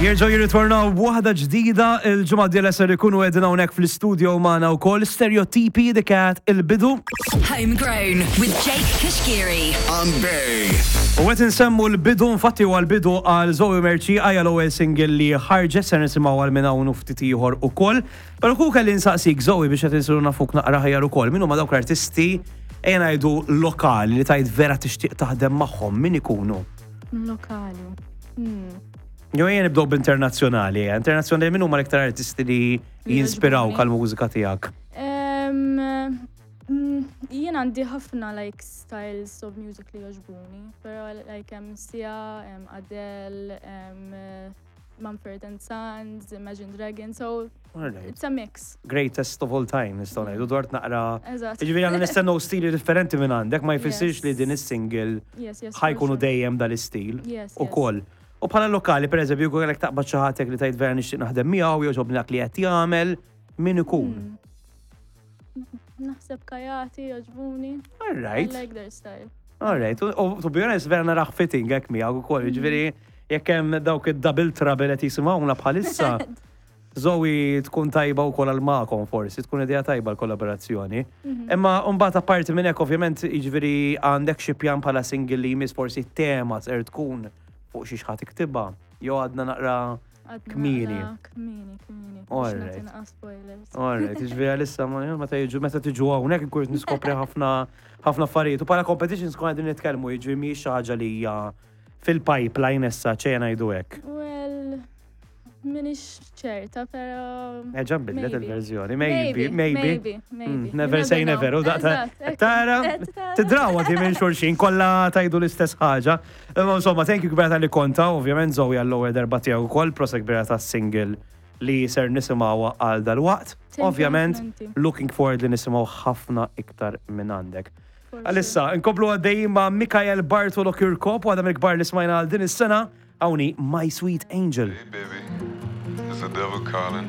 Jerġgħu jirritornaw b'waħda ġdida il-ġimgħa d-dieħla ser ikunu qegħdin hawnhekk fl-istudio magħna wkoll Stereotipi The Cat il-bidu. Homegrown with Jake Kashkiri. On Bay. U qed insemmu l-bidu infatti huwa l-bidu għal Zoe Mercieca hija l-ewwel single li ħarġet ser nisimgħu għal minn hawn u ftit ieħor ukoll. Però kieku kelli nsaqsik Zoe biex qed insiru nafuk naqra aħjar ukoll, min huma dawk l-artisti ejja ngħidu lokali li tgħid vera tixtieq taħdem magħhom, min ikunu? Lokali. Hmm. Jew ejja nibdew b'internazzjonali, eh. Internazzjonali min huma l-iktar artisti li jinspirawk għall-mużika tiegħek? Jien għandi ħafna like styles of music li jogħġbuni, però like hemm Sia, hemm Adele, hemm Mumford and Sons, Imagine Dragons, so it's a mix. Greatest of all time, nistgħu ngħidu dwar naqra. Eżatt. Jiġifieri għandna nistennew stili differenti minn għandek, ma jfissirx li din is-single ħajkunu dejjem dal-istil ukoll. U bħala lokali, per eżempju, jekk kellek taqbad xi ħadd li tgħid vera nixtieq naħdem miegħu, jogħġobni dak li qed jagħmel, min ikun? Naħseb Kajati jogħġbuni. All right. I like their style. All right. U to be honest, vera naraħ fitting hekk miegħek ukoll, jiġifieri jekk hemm dawk id-double trouble qed jisimgħuna bħalissa. Zoe tkun tajba wkoll għal magħkom forsi, tkun idea tajba l-kollaborazzjoni. Mhm. Imma mbagħad apparti minn hekk ovvjament jiġifieri għandek xi pjan bħala single li jmiss forsi tema ser tkun fuq xi xħat iktibha, jew għadna naqra kmieni. Kmieni, kmieni. All right. All right, jiġifieri għalissa meta jiġu meta tiġu hawnhekk inkun niskopri ħafna ħafna affarijiet. U bħala competitions konna qegħdin nitkellmu jiġifieri mhijiex xi ħaġa li hija fil-pipeline issa ċejja ngħidu hekk. Well, minix ċerta, pero. Eġa bidlet il-verżjoni. Maybe, maybe. Maybe, maybe. Mm, never say never. U daqta. Tara, tidrawa di minn xulxin, kolla tajdu l-istess ħaġa. Imma insomma, thank you kbira tal-li konta, ovvjament Zoe għall-ewwel darba tiegħu ukoll, proset kbira tas-single li ser nisimgħuha għal dal-waqt. Ovvjament, looking forward li nisimgħu ħafna iktar minn għandek. Għalissa, nkomplu għaddejjin ma' Mikael Bartolo Kirkop, waħda mill-kbar li smajna għal din is-sena, hawn hi My Sweet Angel. Hey baby, it's the devil calling.